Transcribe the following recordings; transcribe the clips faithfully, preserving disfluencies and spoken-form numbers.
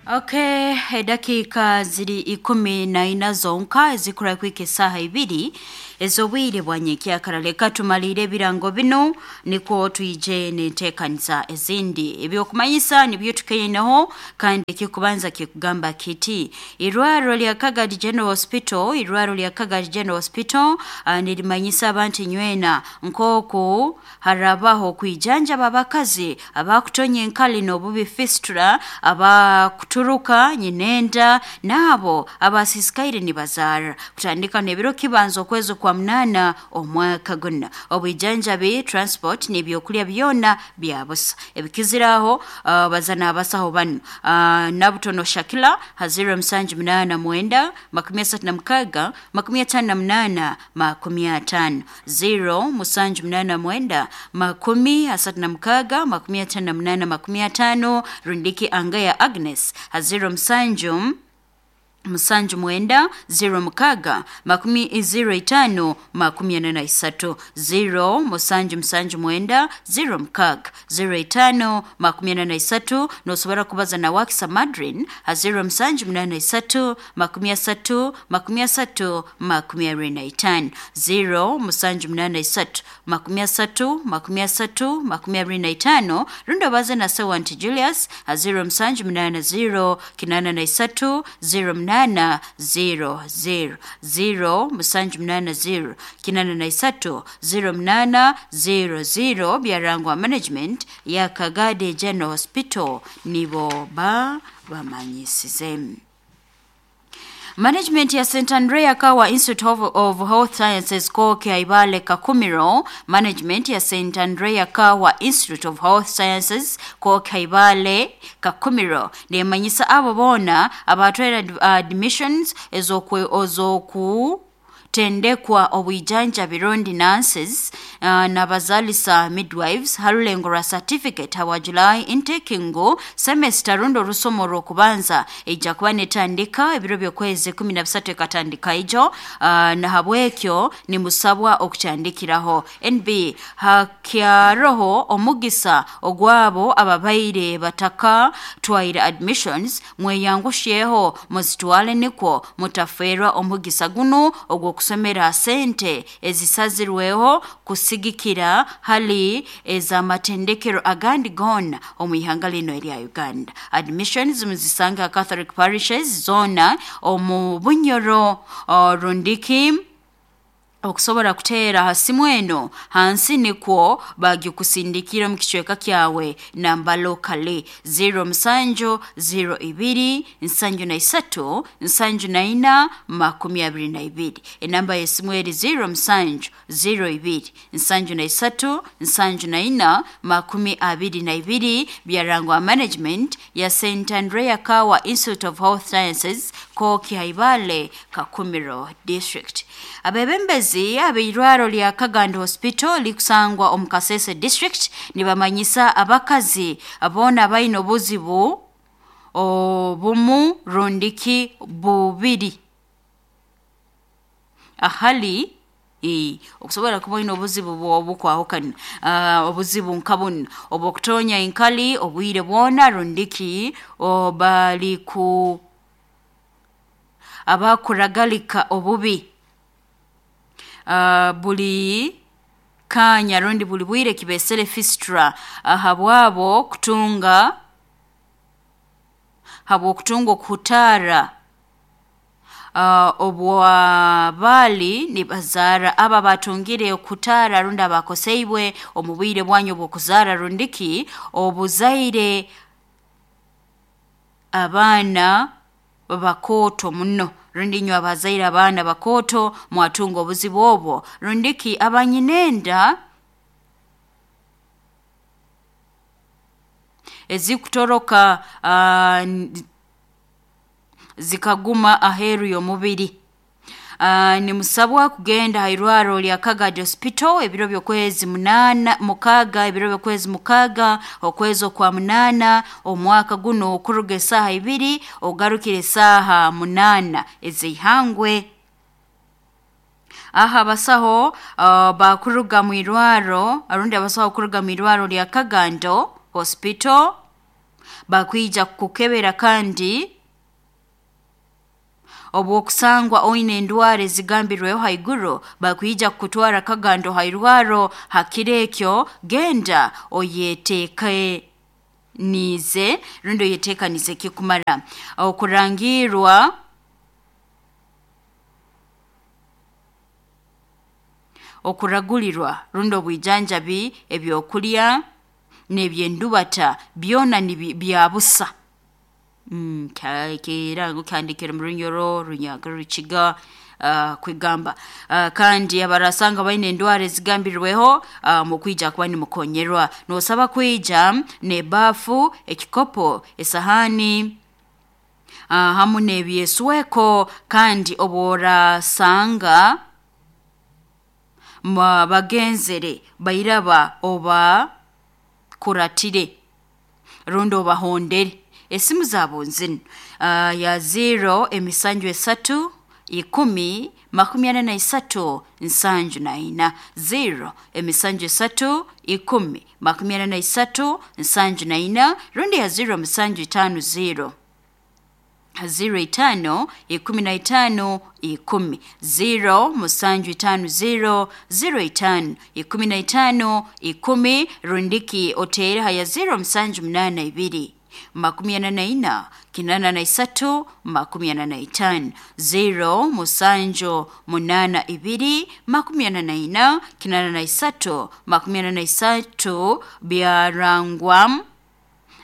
Okay, edakika ziri ikumi na ina zonka ezikura kwika esaaha ibiri ez'obwire bwa nyenkyakara. Leka tumalire ebirango binu nikwo twije n'enteekaniza ezindi. Ebyokumanyisa nibyo tukaineho, kandi ekikubanza kikugamba kiti: irwarro lya Kagadi General Hospital, irwarro lya Kagadi General Hospital uh, nirimanyisa abantu nywena nk'oku harabaho kwijanjaba abakazi abakutonya enkali n'obubi, fistula, abakuturuka nyinenda, n'abo abasisikaire nibazaara, kutandika n'ebiro kibanza okwezi kwa munana omwaka guna. Obwijanjabi, transport n'ebyokulya byona bya busa. Ebikiziraho, uh, bazana abasaho banu: uh, Nabutono Shakila ha zero musanju munaana mwenda makumi asatu na mukaaga makumi ataano na munaana makumi ataano, zero musanju munaana mwenda makumi asatu na mukaaga makumi ataano na munaana makumi ataano, rundiki Angaya Agnes ha zero musanju musanju mwenda zero mukaaga makumi zero itaano makumi ana na isatu, zero musanju musanju mwenda zero mukaaga zero itaano makumi ana na isatu. Nosobora kubaza na Wakisa Madrin ha zero musanju munaana isatu makumi asatu makumi asatu makumi abiri na itaano, zero musanju munaana isatu makumi asatu makumi asatu makumi abiri na itaano, rundi obaze na Sewanti Julius ha zero musanju munaana zero kinaana na isatu zero munana zero zero, zero musanju munaana zero kinaana na isatu zero munana zero zero. Byarangwa management ya Kagadi General Hospital nibo ba bamanyisize. Management ya Saint Andrea Kawa Institute of, of Health Sciences Koke Ibale Kakumiro, management ya Saint Andrea Kawa Institute of Health Sciences Koke Ibale Kakumiro nemanyisa abo boona abatwara admissions ez'oku ozoku tendekwa obwijanjabi rundi nurses uh, n'abazalisa midwives harulengo rwa certificate hawa July intake, ngu semester rundi orusomo rw'okubanza ijja kuba netandika ebiro by'okwezi kumi na bisatu, ekatandika ijo. uh, nahabwekyo nimusabwa okutandikiraho. N B hakyaroho omugisa ogwabo ababaire bataka twaire admissions, mweyangusheho muzitwale nikwo mutafeerwa omugisa gunu ogw'okusomera sente ezisazirweho kusigikira hali ez'amatendekero agandi goona omu ihanga lino erya Uganda. Admissions muzisanga Catholic parishes zoona omu Bunyoro, uh, rundiki okusobora kuteera ha simu eno hansi nikwo bagikusindikira mu kicweka kyawe, namba locally zero musanju zero ibiri nsanju na isatu nsanju na ina makumi abiri na ibiri. Enamba y'esimu eri zero musanju zero ibiri nsanju na isatu nsanju na ina makumi abiri na ibiri. Byarangwa management ya Saint Andrea Kawa Institute of Health Sciences, Koki Haibale, Kakumiro District. Abebembezi ab'eirwaro lya Kagando Hospital likusangwa omu Kasese District nibamanyisa abakazi boona abaine obuzibu obumu rundiki bubiri ahali e, okusobola kuba olina obuzibu obukwahukana, uh, obuzibu nka bunu obwokutonya enkali obwire bwona, rundiki bali ku abakuragalika obubi uh, buli kanya rundi buli bwire, kibesere fistula, habwabo kutunga, habwokutunga okuhutaara uh, obwabali nibazaara, aba batungire okutaara rundi abakoseibwe omu bwire bwanyu obw'okuzaara, rundiki obuzaire abaana bakooto muno, rundi inywe abazaire abaana bakooto mwatunga obuzibu obwo, rundiki abanyinenda ezikutoroka uh, zikaguma aheeru y'omubiri. Uh, nimusabwa kugenda ha irwaro lya Kagadi Hospital ebiro by'okwezi munana mukaaga, ebiro by'okwezi mukaaga okwezi okwa munana omwaka guno, okuruga esaaha ibiri ogarukira esaaha munaana ez'ihangwe. Aha abasaho uh, bakuruga mu irwaro, arundi abasaho kuruga mu irwaro lya Kagando Hospital. Bakwija kukukebera kandi obwokusangwa oine endwara ezigambirweho haiguru bakwija kukutwara Kagando hairwaro. Hakiro ekyo genda oyeteeke nize rundi oyeteekanize kikumara okurangirwa okuragulirwa rundi obwijanjabi ebyokulya n'ebyendubata byona ni byabusa. Mm, kirango kyandikire mu Runyoro, Runyaga, Rukiga uh, kwigamba uh, kandi abarasanga baine endwara ezigambirweho uh, mukwija kuba nimukonyerwa. Nosaba kwija nebafu, ekikopo, esahani uh, hamu n'ebyesweko. Kandi obworasanga bagenzere bairaba oba kuratire rundi obahondere. Esimu zabo nzinu uh, ya zero emisanju esatu ikumi makumi ana na isatu nsanju na ina, zero emisanju esatu ikumi makumi ana na isatu nsanju na ina, rundi ya zero musanju itano zero zero itano ikumi na itano ikumi, zero musanju itano zero zero itano ikumi na itano ikumi, rundiki otere haya zero musanju munana ibiri makumi ana na ina kinana na isatu makumi ana na itano, zero musanju munana ibiri makumi ana na ina kinana na isatu makumi ana na isatu. Byarangwa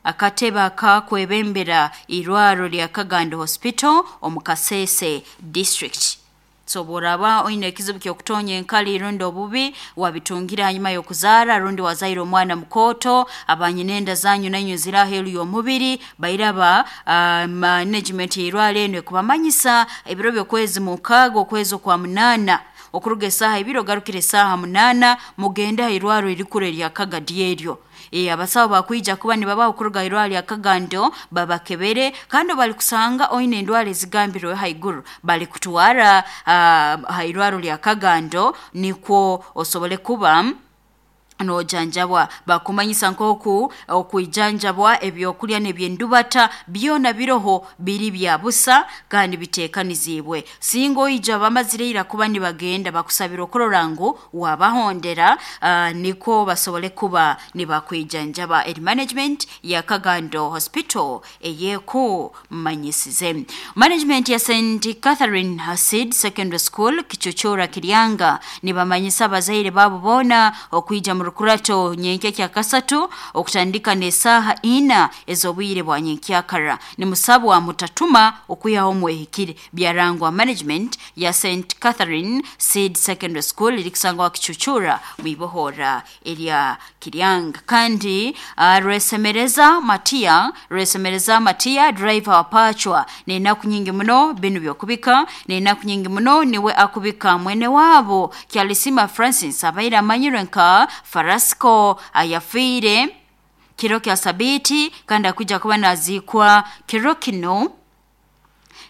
akatebe akakwebembera irwaro lya Kagando Hospital omu Kasese District. So boraba oine ekizibu ky'okutonya enkali rundi obubi wabitungira hanyuma y'okuzaara rundi wazaire omwana mukoto, abanyinenda zanyu nanyu ziri aheeru y'omubiri bairaba uh, management y'irwaro eno ekubamanyisa ebiro by'okwezi mukaaga okwezi okwa munaana okuruga esaaha ibiri ogarukire esaaha munaana mugende aha irwaro erikuru erya Kagadi eryo. E, abasawo bakwija kuba nibabaho okuruga irwaro lya Kagando babakebere, kandi bali kusanga oine endwara ezigambirwe haiguru bali kutwara uh, ha irwaro lya Kagando nikwo osobole kuba nojanjabwa. Bakumanyisa nkoku okwijanjabwa ebyokulya n'ebyendubata byona biroho biri bya busa kandi biteekanizibwe. Singa oija bamazire ira kuba nibagenda bakusabira okurora ngu wabahondera uh, niko basobole kuba nibakwijanjaba. Eri management ya Kagando Hospital eyekumanyisize. Management ya Saint Catherine Hasid Secondary School Kichuchura Kiryanga nibamanyisa abazaire babo bona okwija mu rukurato nyenkya kya kasatu okutandika n'esaaha ina ez'obwire bwa nyenkyakara. Nimusabwa mutatuma okwihaho mwehikire. Byarangwa management ya Saint Catherine Seed Secondary School irikusangwa Kichuchura mwibohora erya Kiryanga. Kandi uh, Rwesemereza Matia Rwesemereza Matia driver wa Pachwa n'enaku nyingi muno binu byokubika n'enaku nyingi muno niwe akubika mwene wabo Kyalisima Francis abaire amanyirwe nka Farasco ayafiire kiro kya sabiti kandi akuja kuba nazikwa kiro kino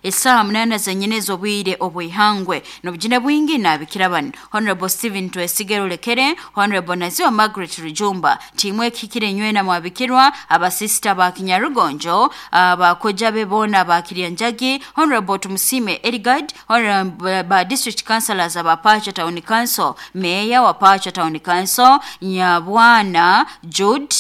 esaha munana zenyine ez'obwire obwihangwe. N'obujina bwingi nabikira bano Honorable Stephen Twesigero Lekere, Honorable Naziwa Margaret Rujumba, timu ekikire nywena mwabikirwa, abasista ba Kinyarugonjo, abakoja be bona ba Kiryanjagi, Honorable Tumusime Erigard, Honorable ba District Councillors aba Pacha Town Council, Mayor wa Pacha Town Council, Nyabwana Jude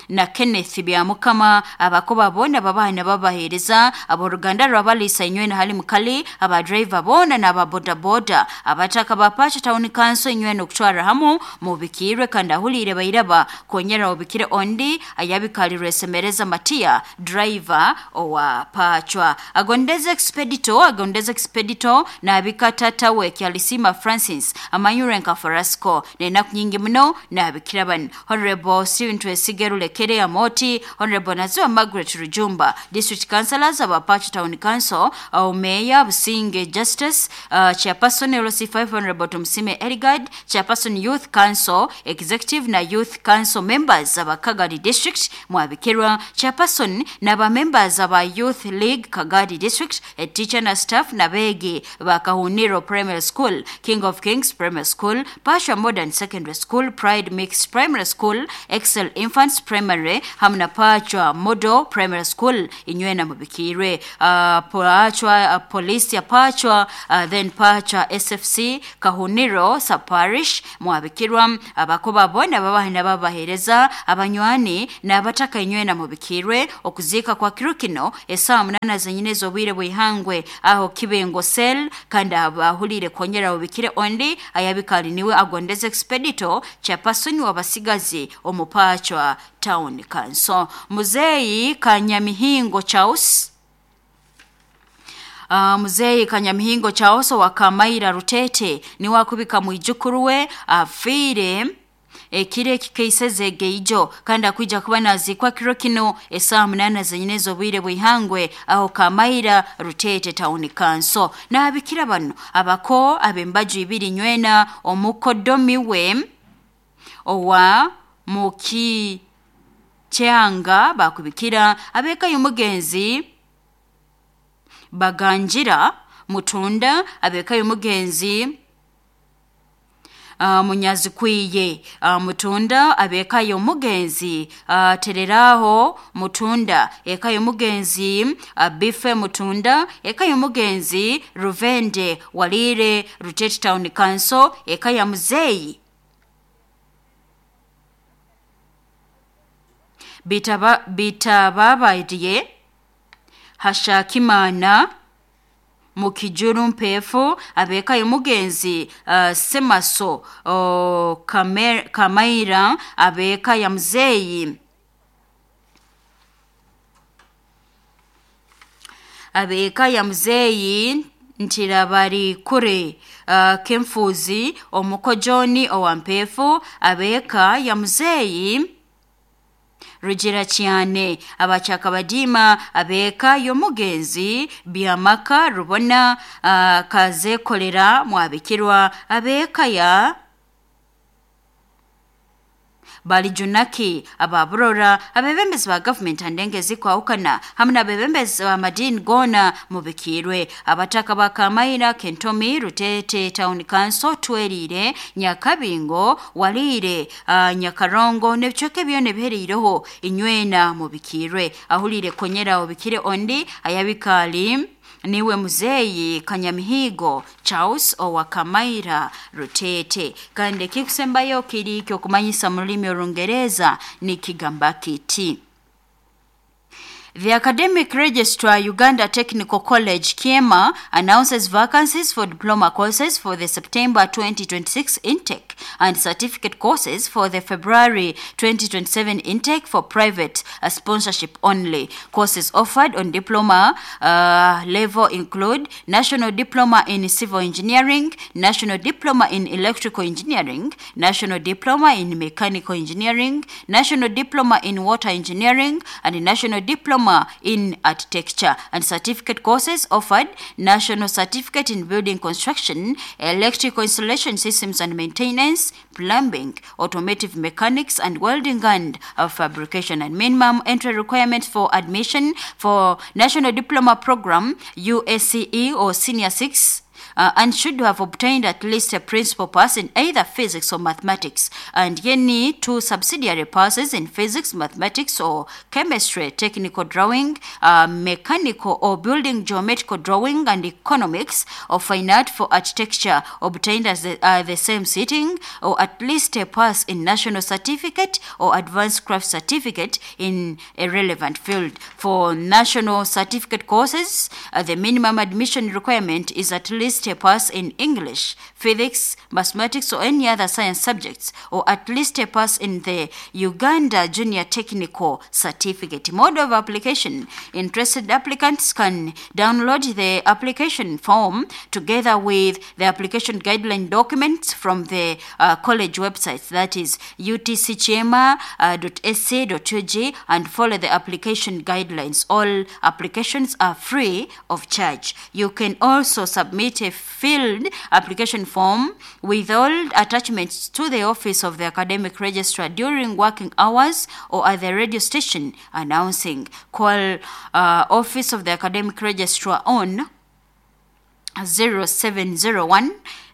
na Kenneth Byamukama, abakoba bona babaha babahereza aboruganda rwabalisa inywena hali mukali, aba driver bona n'aba boda boda, abataka ba Pacha Town Council inywena okutwara hamu mubikirwe kandi ahulire bairaba konyera obikire ondi ayabikalirwe Semereza Matia driver owa Pachwa. Agondeze Expedito Agondeze Expedito n'abikatata we Kyalisima Francis amanyure nka Farasco n'enaku nyingi muno n'abikira bano Honorable Stephen Twesigero Lekere Amoti, Honorable Naziwa Margaret Rujumba, District Councillors aba Pacha Town Council, uh, Mayor Businge Justice, uh, Chairperson L C five Honorable Tumusime Erigard, Chairperson Youth Council, Executive na Youth Council members aba Kagadi District, Mwabikirwa, Chairperson na ba members aba Youth League Kagadi District, a teacher na staff na begi ba Kahuniro Primary School, King of Kings Primary School, Pasha Modern Secondary School, Pride Mixed Primary School, Excel Infants Primary Primary hamu na Pachwa Model Primary School inywena mubikirwe. uh, Pachwa uh, Police ya Pachwa, uh, then Pachwa S F C Kahuniro Saparish mwabikirwa. Abakoba bona babahina babahereza abanywani n'abataka inywena mubikirwe. Okuzika kwa kirukino esaa munana zenyine zobwire bwihangwe aho Kibengo Cell, kandi abahulire kongera ubikire ondi ayabikali niwe agondeze Expedito chairperson wabasigazi omupachwa Town Council. Muzeyi Kanyamihingo Charles, Uh, Muzeyi Kanyamihingo Charles wa Kamaira Rutete ni wakubika mwijukuruwe afire ekire kikeiseze geijo, kandi akuija kuba nazikwa kiro kino esaa munana zenyine zobwire bwihangwe aho Kamaira Rutete Town Council. N'abikira bano abako abembaju ibiri nywena omukodomi we owa muki kyanga bakubikira abeka y'omugenzi Baganjira Mutunda, abeka y'omugenzi Uh, Munyazikwiye uh, Mutunda, abeka y'omugenzi uh, Tereraho Mutunda, eka y'omugenzi uh, Bife Mutunda, eka y'omugenzi Ruvende Walire Rutete Town Council, eka ya Muzeyi Bitaba Bitababaye Hashakimana Mukijuru Mpefu, abeka y'omugenzi uh, Semaso uh, Kamer, Kamaira, abeka ya Muzeyi abeka ya Muzeyi Ntirabari kure uh, Kemfuzi omukojoni owa Mpefu, abeka ya Muzeyi Rugira cyane abacakabadima, abeka y'omugenzi Biamaka Rubona uh, Kazekolera mwabikirwa, abeka ya Balijunaki ababurora abebembezi ba government andengezi kwahukana hamwe n'abebembezi ba madini gona mubikirwe. Abataka ba Kamaira Kentomi Rutete Town Council Twerire Nyakabingo Walire uh, Nyakarongo n'ebicweka byona ebiheriireho inywena mubikirwe. Ahulire konyera obikire ondi ayabikali niwe Muzeyi Kanyamihigo Charles owa Kamaira Rutete. Kandi ekikusembayo kiri kyokumanyisa mu rulimi Orungereza nikigamba kiti: The Academic Registrar, Uganda Technical College, Kiema, announces vacancies for diploma courses for the September twenty twenty-six intake and certificate courses for the February twenty twenty-seven intake for private uh, sponsorship only. Courses offered on diploma uh, level include National Diploma in Civil Engineering, National Diploma in Electrical Engineering, National Diploma in Mechanical Engineering, National Diploma in Water Engineering, and National Diploma in Architecture. And certificate courses offered: National Certificate in Building Construction, Electrical Installation Systems and Maintenance, Plumbing, Automotive Mechanics, and Welding and uh, Fabrication. And minimum entry requirements for admission for National Diploma Program, U S C E or Senior six, Uh, and should have obtained at least a principal pass in either physics or mathematics, and any two subsidiary passes in physics, mathematics, or chemistry, technical drawing, uh, mechanical or building geometrical drawing, and economics, or fine art for architecture obtained as the, uh, the same sitting, or at least a pass in national certificate or advanced craft certificate in a relevant field. For national certificate courses, uh, the minimum admission requirement is at least a pass in English, physics, mathematics, or any other science subjects, or at least a pass in the Uganda Junior Technical Certificate. Mode of application: interested applicants can download the application form together with the application guideline documents from the uh, college website, that is U T C chiema dot A C dot U G, and follow the application guidelines. All applications are free of charge. You can also submit a filled application form with all attachments to the office of the academic registrar during working hours or at the radio station announcing. Call uh, office of the academic registrar on zero seven zero one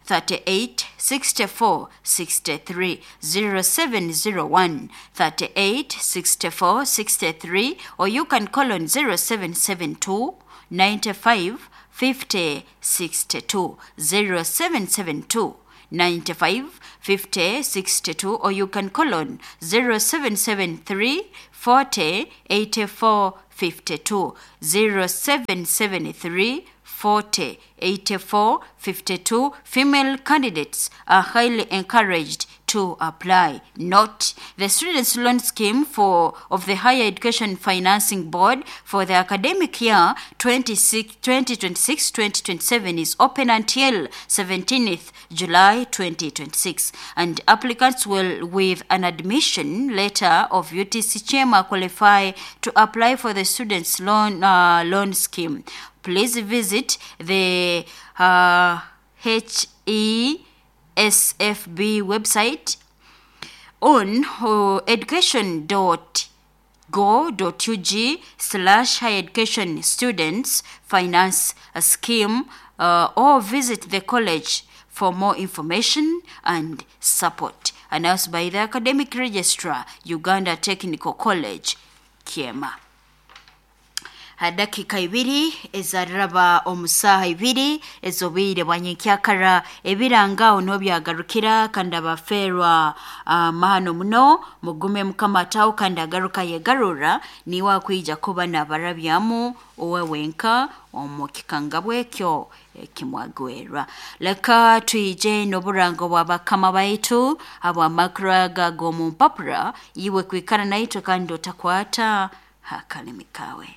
thirty-eight sixty-four sixty-three, zero seven zero one thirty-eight sixty-four sixty-three, or you can call on zero seven seven two ninety-five fifty sixty-two, zero seven seven two ninety-five fifty sixty-two, or you can call on zero seven seven three forty eighty-four fifty-two, zero seven seven three forty eighty-four fifty-two. Female candidates are highly encouraged to apply. Note, the Students' Loan Scheme for of the Higher Education Financing Board for the academic year twenty twenty-six twenty twenty-seven is open until seventeenth July twenty twenty-six, and applicants will, with an admission letter of U T C Kyema, qualify to apply for the Students' Loan, uh, Loan Scheme. Please visit the uh, H E S F B website on uh, education dot go dot U G slash higher education students finance scheme, uh, or visit the college for more information and support. Announced by the Academic Registrar, Uganda Technical College, Kyema. Hadakika ibiri ezaraba omusaha ibiri ezobire bwanyenkyakara ebirangao n'obyagarukira kandi abaferwa uh, mahano muno mugume mukama atawo kandi agaruka yegarura niwe akwija kuba nabarabyamu owe wenka omukikangabwe ekyo ekimwagwerwa. Leka twije n'oburango bwa bakama baitu abw'amakura g'omu mpapura iwe kwikara naitwe kandi otakwata hakalimi kawe.